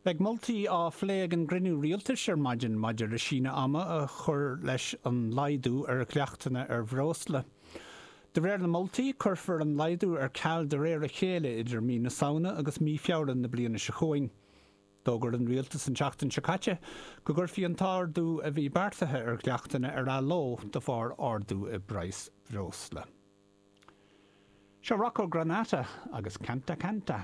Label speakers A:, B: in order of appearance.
A: Beidh moltaí á phlé ag an gcruinniú rialtais ar maidin maidir le síneadh ama a chur leis an laghdú ar dhleachtanna ar bhreosla. De réir na moltaí, cuirfear an laghdú ar ceal de réir a chéile idir mí na Samhna agus mí Feabhra na bliana seo chugainn. D'fhógair an rialtas an tseachtain seo caite go gcuirfí an t-ardú a bhí beartaithe ar dhleachtanna ar athló de bharr ardú i bpraghas breosla. Seo Rocco Granata agus Canta Canta.